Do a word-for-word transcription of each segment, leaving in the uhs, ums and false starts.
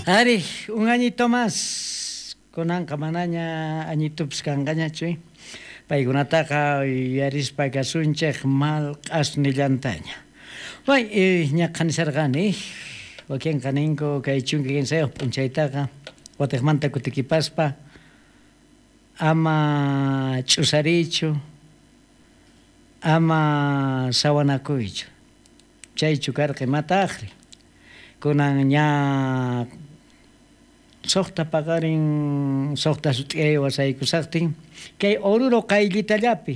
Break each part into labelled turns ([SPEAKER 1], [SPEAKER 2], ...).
[SPEAKER 1] Ari, un añito más kunanqa manaña añitupis kanqañachu paykunataqa yuyarispa kasunchik malq'asnillantaña. Bay, ñaqa nisarqani wakinqa ninku kay chunka kinsayuq p'unchaytaqa watiqmanta kutikipaspa ama ch'usariychu ama sawanakuychu chaychu karqa imataqri kunan ña suqta paqarin suqta sut'iyay wasaykusaqtin kay Oruro qayllitallapi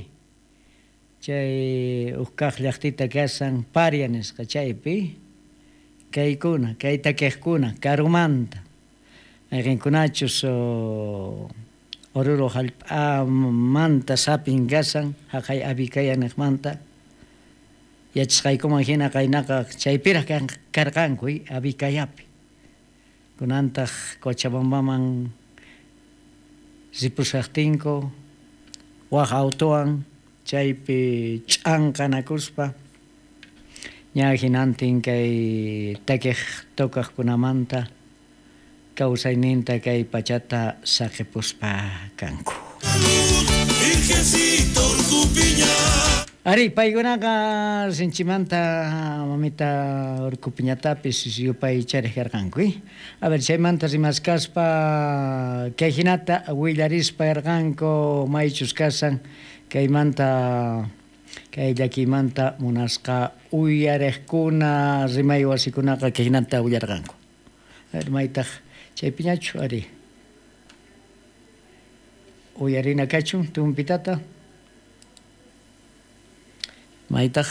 [SPEAKER 1] chay huk kaq llaqtita kasan Paria nisqa chaypi kaykuna kay takiqkuna karumanta mayqinkunachus Oruro hallp'amanta sapin kasan haqay Avikaya niqmanta yachasqaykuman hina qaynaqa chaypiraq karqanku Avikayapi kunantaq Cochabambaman ripusaqtinku waq autowan chaypi ch'anqanakuspa ña hinantin kay takiq tocaqkunamanta kawsayninta kay pachata saqipuspa kanku. Ari, paykunaqa sinchimanta mamita Urkupiñatapis yupaychariq karqanku. A ver, chaymanta rimaskaspa kay hinata willarispa karqanku maychus kasan kaymanta kay llakiymanta munasqa uyariqkuna rimay wasikunaqa kay hinata willarqanku. A ver, maytaq chaypiñachu ari uyarina kachun tumpitata maytaq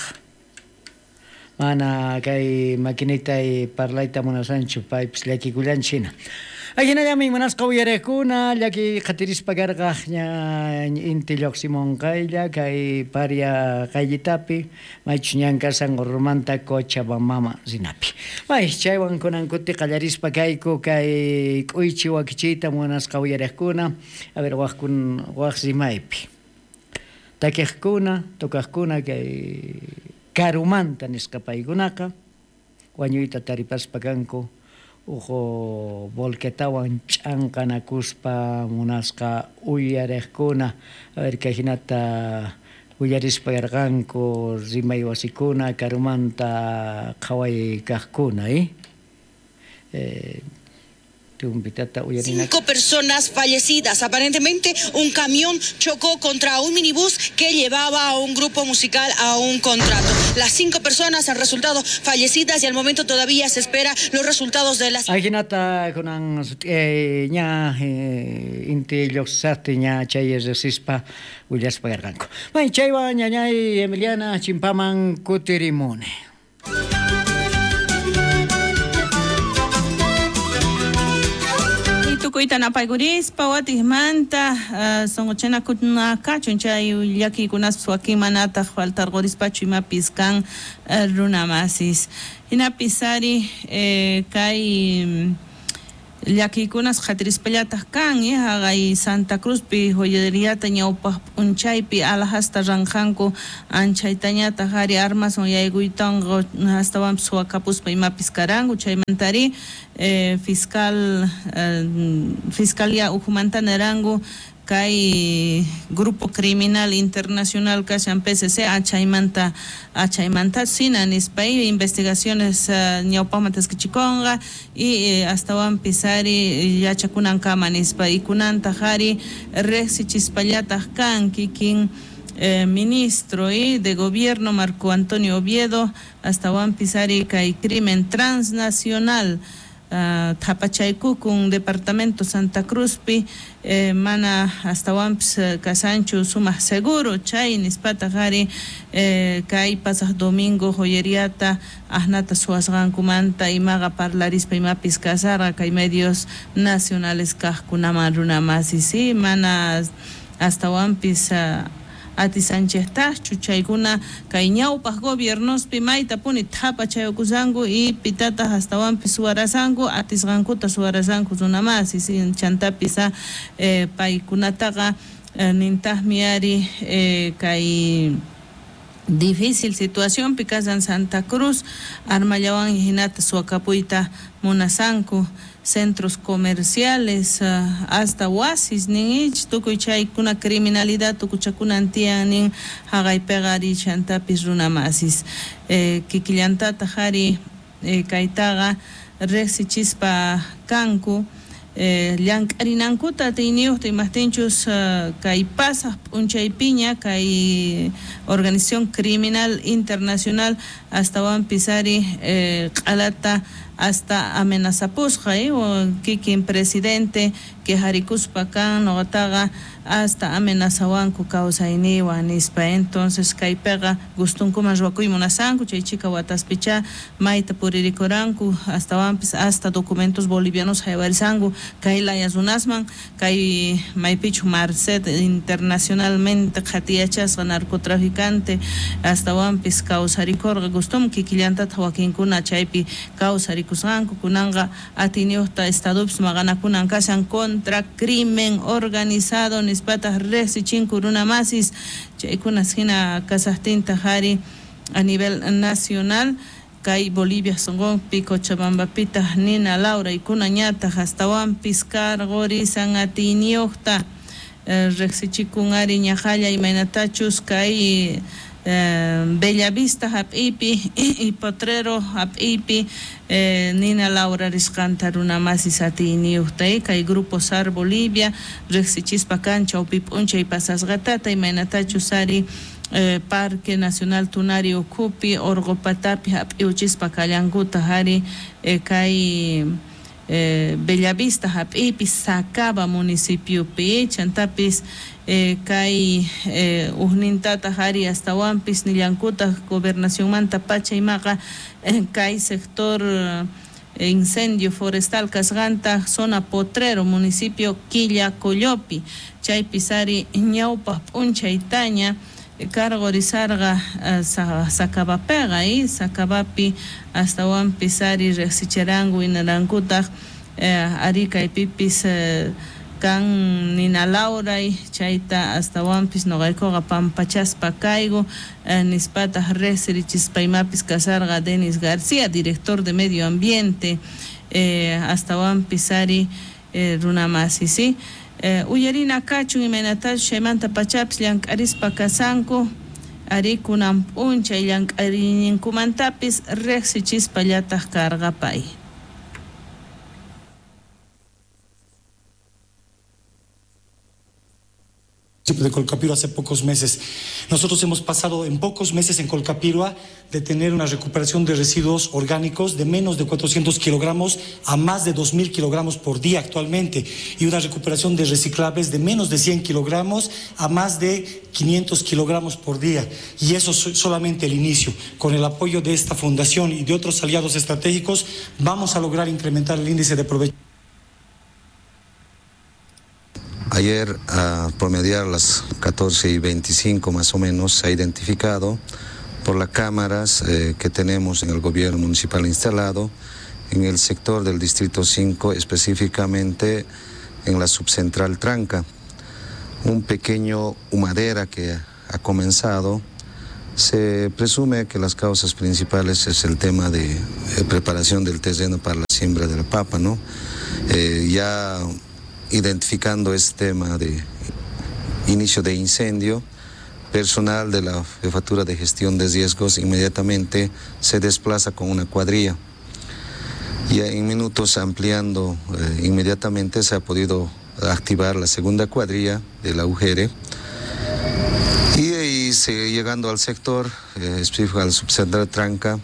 [SPEAKER 1] mana kay maquinitay parlayta munasanchu paypis llakikullanchik hina. Ajinallami munasqa uyariqkuna llaki qhatirispa karqaq ña inti lluqsimunqaylla kay Paria qayllitapi maychus ñan kasan Orurumanta Cochabambama rinapi. May chaywan kunan kuti qallarispa kayku kay k'uychi wakichiyta munasqa uyariqkuna a ver waqkun waq rimaypi takiqkuna tocaqkuna kay karumanta nisqa paykunaqa wañuyta taripaspa kanku uhu volquetawan ch'anqanakuspa munasqa uyariqkuna a ver kay hinata willarispa karqanku rimay wasikuna karumanta qhaway kaqkuna eh eh
[SPEAKER 2] Cinco personas fallecidas. Aparentemente, un camión chocó contra un minibús que llevaba a un grupo musical a un contrato. Las cinco personas han resultado fallecidas y al momento todavía se espera los resultados de las...
[SPEAKER 1] Ajinata kunan ña inti lluqsaqti ña chay riqsispa willaspa karqanku. May chaywan ñañay Emiliana chimpaman kutirimuni.
[SPEAKER 3] Tukuyta napaykurispa watiqmanta sunquchanakunakachun chay llakiykunaspas wakin manataq faltarqurispachu imapis kan runamasis. Hinapis ari kay llakiykunas qhatirispallataq kan haqay Santa Cruzpi joyeriata ñawpaq p'unchaypi alhasta ranqanku anchaytañataq ari armaswan yaykuytanqa astawanpis suwakapuspa imapis karanku chaymantari eh, fiscal eh, fiscalía ujumanta neranku kay grupo criminal internacional kashan P C C achaymanta achaymanta sina nispa y investigaciones uh, ñawpaqman taskichikunqa y eh, astawanpis ari yachakunankama nispa y kunantaq ari riqsichispallataq kan kikin eh, ministro y de gobierno Marco Antonio Oviedo astawanpis ari kay crimen transnacional Uh, Thapachaykukun departamento Santa Cruzpi eh, mana astawanpis eh, kasanchu sumaq seguro chay nispataq ari eh, kay pasaq domingo joyeriata asnata suwasqankumanta imaqa parlarispa imapis kasarqa kay medios nacionales kaqkunaman runamasi si mana astawanpis uh, atisanchejtaqchu chaykuna kay ñawpaq gobiernospi maytapuni thapachayukusanku y pitataq astawanpis suwarasanku atisqankuta suwarasanku runamasi chantapis eh, paykunataqa eh, nintaqmi ari eh, kay Difícil situación kashan Santa Cruz, armallawan hinata suwakapuyta munasanku, centros comerciales, uh, hasta wasis nin ich, tukuy chaykuna criminalidad tukuchakunan tiyan nin haqaypiqa ari chantapis runamasis. Eh, kikillantataq ari eh, kaytaqa riqsichispa kanku, eh, llank'arinankuta atiyniyuqta imajtinchus uh, kay pasaq p'unchaypiña kay Organización Criminal Internacional astawanpis ari eh, q'alata hasta amenazapusqa eh, kikin presidente quejarikuspa kan noqataqa hasta amenazawanku kawsayniwan nispa. Entonces kaypiqa gustunkuman ruwakuy munasanku chay chika wataspicha mayta puririkuranku astawanpis hasta documentos bolivianos haywarisanku kay laya runasman kay maypichu Marcet internacionalmente qhatiyachasqa narcotraficante astawanpis kawsarikurqa gustum kikillantataq wakinkuna chaypi kawsarikusqanku kunanqa atiyniyuqta estadopis maqanakunan kashan contra crimen organizado nispataq riqsichinku runamasis chaykunas hina kasaqtintaq ari a nivel nacional kay Bolivia sonqonpi Cochabambapitaq nina lawraykunañataq astawanpis cargorisan atiyniyuqta riqsichikun ari ñaqalla imaynatachus kay eh, Bellavista hap'ipi y Potrero hap'ipi eh, nina Laura risqanta runamasis atiyniyuqta eh, kay Grupo S A R Bolivia riqsichispa kan chawpi p'unchay pasasqatata imaynatachus ari eh, Parque Nacional Tunari ukhupi Orqopatapi hap'iuchispa kallankutaq ari eh, kay eh, Bellavista hap'ipi Sacaba municipiopi chantapis eh, kay eh, ujnintataq ari astawanpis nillankutaq gobernacionmanta pacha imaqa eh, kay sector eh, incendio forestal kasqanta zona Potrero municipio Quillacollopi chaypis ari ñawpaq p'unchaytaña cargorizarqa uh, Sacabapiqa y Sacabapi astawanpis ari riqsicharanku inarankutaq eh, ari kaypipis eh, kan nina lawray chayta astawanpis noqaykuqa pampachaspa kayku eh, nispataq riqsirichispa imapis kasarqa Denis García, director de Medio Ambiente eh, astawanpis ari eh, runamasi ¿sí? Eh, uyarina kachun imaynatachus chaymanta pachapis llank'arispa kasanku ari kunan p'unchay llank'ariyninkumantapis riqsichispallataq karqa pay.
[SPEAKER 4] De Colcapirhua hace pocos meses. Nosotros hemos pasado en pocos meses en Colcapirhua de tener una recuperación de residuos orgánicos de menos de cuatrocientos kilogramos a más de dos mil kilogramos por día actualmente y una recuperación de reciclables de menos de cien kilogramos a más de quinientos kilogramos por día. Y eso es solamente el inicio. Con el apoyo de esta fundación y de otros aliados estratégicos vamos a lograr incrementar el índice de aprovechamiento.
[SPEAKER 5] Ayer, a promediar las catorce y veinticinco más o menos, se ha identificado por las cámaras eh, que tenemos en el gobierno municipal instalado en el sector del Distrito cinco, específicamente en la subcentral Tranca. Un pequeño humadera que ha comenzado. Se presume que las causas principales es el tema de eh, preparación del terreno para la siembra de la papa, ¿no? Eh, ya identificando este tema de inicio de incendio, personal de la Jefatura de Gestión de Riesgos inmediatamente se desplaza con una cuadrilla. Y en minutos, ampliando eh, inmediatamente, se ha podido activar la segunda cuadrilla de la U G R. Y, y se, llegando al sector, eh, específico al subcentral Tranca,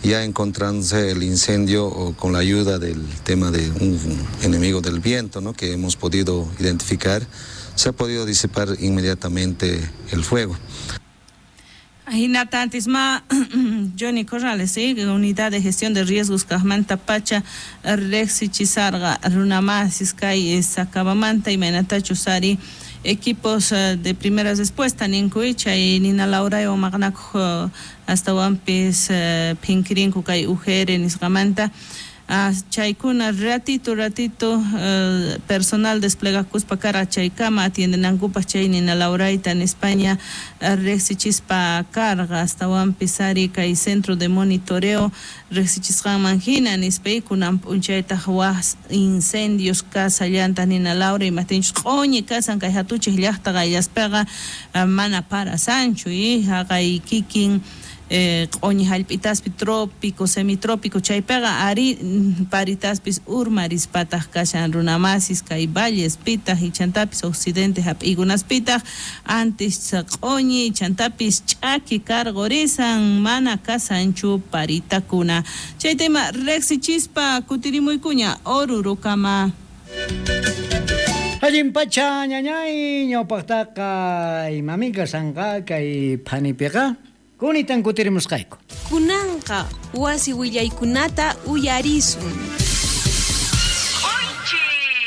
[SPEAKER 5] ya encontrándose el incendio o con la ayuda del tema de un enemigo del viento, ¿no?, que hemos podido identificar, se ha podido disipar inmediatamente el fuego.
[SPEAKER 3] Hinata antisma Johnny Corrales, ¿sí? Unidad de Gestión de Riesgos Kajmanta Pacha, Rexichisarga, Runamasis, Kay, Sacabamanta y Menatachusari, equipos de primera respuesta, Ninkuicha y Nina Laura y Omagnak, hasta Wampis, Pinkirinku, Kay U G R, Nisgamanta. Ah, chaykuna ratito ratito eh, personal desplegakuspa karqa chaykama atiendenankupaq chay nina lawrayta nispaña riqsichispa karqa astawanpis ari kay centro de monitoreo riqsichisqanman hina nispa kunan p'unchaytaq waj incendios kasallantaq nina lawray imaptinchus q'uñi kasan kay hatuchik llaqta qayllaspaqa mana parasanchu y haqay kikin q'uñi hallp'itaspi trópico, semitrópico chaypiqa ari paritaspis urmarispataq kashan runamasis kay vallespitaq ichantapis occidente hap'iykunaspitaq antes q'uñi ichantapis ch'aki karqurisan mana kasanchu paritakuna chay tema riqsichispa kutirimuykuña Orurukama.
[SPEAKER 1] Allin pacha ñañay ñawpaqtaqa imamika sanqa kay phanipiqa kunitan kutirimusqayku.
[SPEAKER 6] Kunanqa wasi willaykunata uyarisun.